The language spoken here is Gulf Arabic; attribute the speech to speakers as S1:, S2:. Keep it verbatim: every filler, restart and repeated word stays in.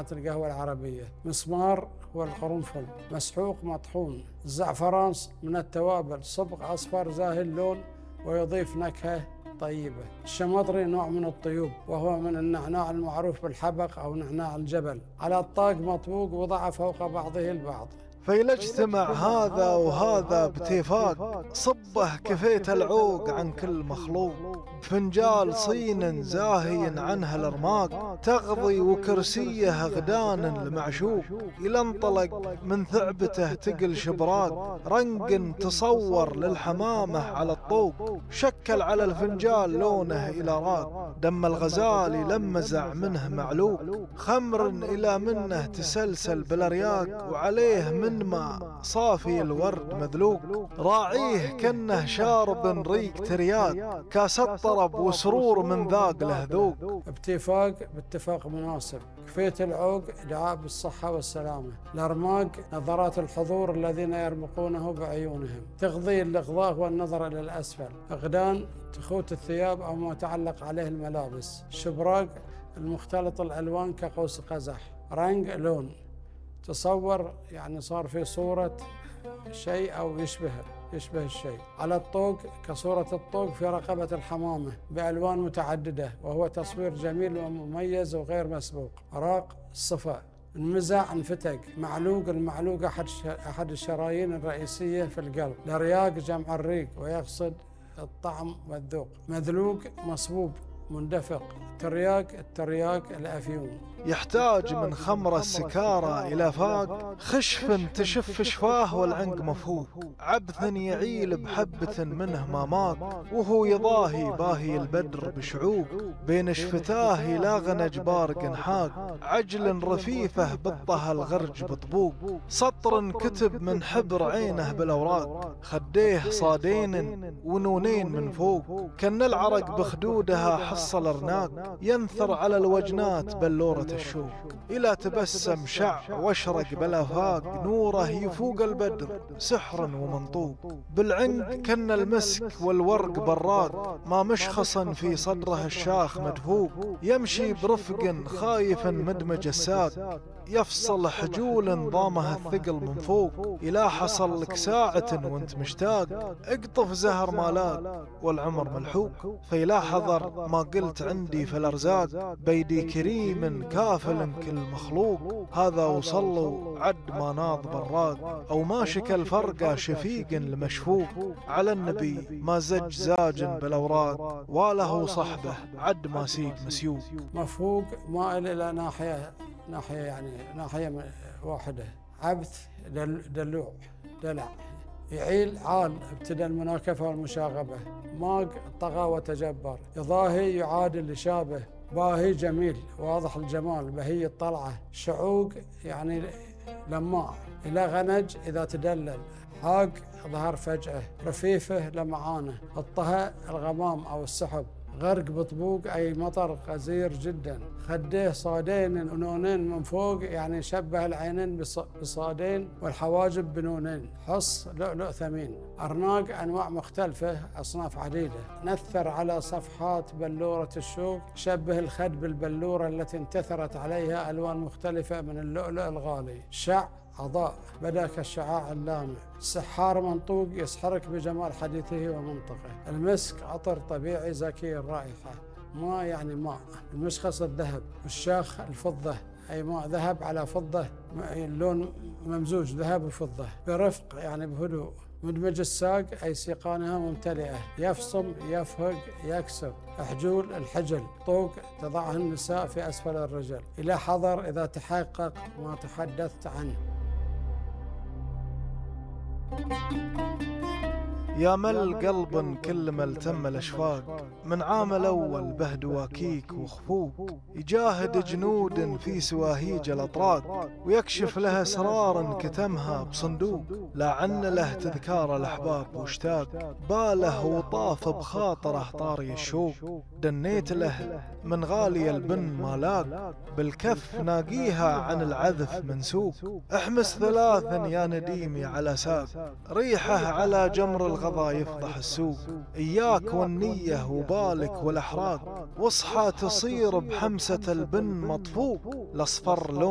S1: القهوة العربية. مسمار هو القرنفل، مسحوق مطحون. الزعفران من التوابل، صبغ أصفر زاهي اللون ويضيف نكهة طيبة. الشمطري نوع من الطيوب وهو من النعناع المعروف بالحبق أو نعناع الجبل، على الطاق مطبوق وضع فوق بعضه البعض.
S2: فإذا اجتمع هذا وهذا باتفاق، صبه كفيت العوق عن كل مخلوق. بفنجال صين زاهي عنها الارماق، تغضي وكرسيه غدان المعشوق. إلى انطلق من ثعبته تقل شبراق، رنق تصور للحمامة على الطوق. شكل على الفنجال لونه إلى راق، دم الغزال لمزع منه معلوق. خمر إلى منه تسلسل بالأرياق، وعليه من ما صافي الورد مذلوق. راعيه كنه شارب ريق ترياق، كاس الطرب وسرور من ذاق له ذوق.
S1: اتفاق باتفاق مناسب، كفيت العوق دعاء بالصحة والسلامة. الأرماق نظرات الحضور الذين يرمقونه بعيونهم، تغضي الإغضاء والنظر إلى الأسفل. فقدان تخوت الثياب أو ما تعلق عليه الملابس. شبراق المختلط الألوان كقوس قزح. رنق لون، تصور يعني صار في صورة شيء أو يشبهه يشبه الشيء. على الطوق كصورة الطوق في رقبة الحمامة بألوان متعددة، وهو تصوير جميل ومميز وغير مسبوق. راق الصفا، انمزع انفتق. معلوق، المعلوق أحد أحد الشرايين الرئيسية في القلب. الرياق جمع الريق ويقصد الطعم والذوق. مذلوق مصبوب مندفق. ترياق، الترياق الأفيون.
S2: يحتاج من خمر السكارى إلى فاق، خشف تشف شفاه والعنق مفهوق. عبث يعيل بحبة منه ما ماق، وهو يضاهي باهي البدر بشعوق. بين شفتاه لاغن جبار حاق، عجل رفيفه بطه الغرج بطبوق. سطر كتب من حبر عينه بالأوراق، خديه صادين ونونين من فوق. كان العرق بخدودها حصل ارناق، ينثر على الوجنات بلورة الشوق. إلى تبسم شع واشرق بالآفاق، نوره يفوق البدر سحر ومنطوق. بالعنق كن المسك والورق براق، ما مشخصا في صدره الشاخ مدفوق. يمشي برفق خايف مدمج الساق، يفصل حجول ضامها الثقل من فوق. إلى حصل لك ساعة وانت مشتاق، اقطف زهر مالاك والعمر ملحوق. فإلى حضر ما قلت عندي في الأرزاق، بيدي كريم كافل كل مخلوق. هذا وصلوا عد ما ناض براق، أو ما شكى الفرقة شفيق لمشفوق. على النبي ما زج زاج بالأوراق، وله صحبه عد ما سيق مسيوق.
S1: مفوق مائل إلى ناحية ناحية يعني ناحية واحدة. عبث دلوع دلع. يعيل عال، ابتدى المناكفة والمشاغبة. ماق طغى وتجبر. يضاهي يعادل يشابه. باهي جميل واضح الجمال، بهي الطلعة. شعوق يعني لماع. إلى غنج إذا تدلل. حاق ظهر فجأة. رفيفه لمعانه. الطهى الغمام أو السحب. غرق بطبوق أي مطر غزير جدا. خديه صادين ونونين من فوق، يعني شبه العينين بصادين والحواجب بنونين. حص لؤلؤ ثمين. أرناق أنواع مختلفة أصناف عديدة. نثر على صفحات بلورة الشوق، شبه الخد بالبلورة التي انتثرت عليها ألوان مختلفة من اللؤلؤ الغالي. شع عضاء، بدا كالشعاع اللامع. سحار منطوق، يسحرك بجمال حديثه ومنطقه. المسك عطر طبيعي زكي الرائحة. ماء يعني ماء. المشخص الذهب. والشاخ الفضة، أي ماء ذهب على فضة، اللون ممزوج ذهب وفضة. برفق يعني بهدوء. مدمج الساق أي سيقانها ممتلئة. يفصم يفهق يكسر. حجول الحجل. طوق تضعه النساء في أسفل الرجل. إلى حضر إذا تحقق ما تحدثت عنه.
S2: يا مل قلب كل ما التم الأشواق، من عام الأول به دواكيك وخفوق. يجاهد جنود في سواهيج الأطراق، ويكشف له أسرار كتمها بصندوق. لا عن له تذكار الأحباب واشتاق، باله وطاف بخاطره طاري الشوق. دنيت له من غالي البن ما لاق، بالكف ناقيها عن العذف منسوق. احمس ثلاثا يا نديمي على ساق، ريحه على جمر الغضا يفضح السوق. إياك والنية وبالك والأحراق، واصحى تصير بحمسة البن مطفوق. الأصفر لون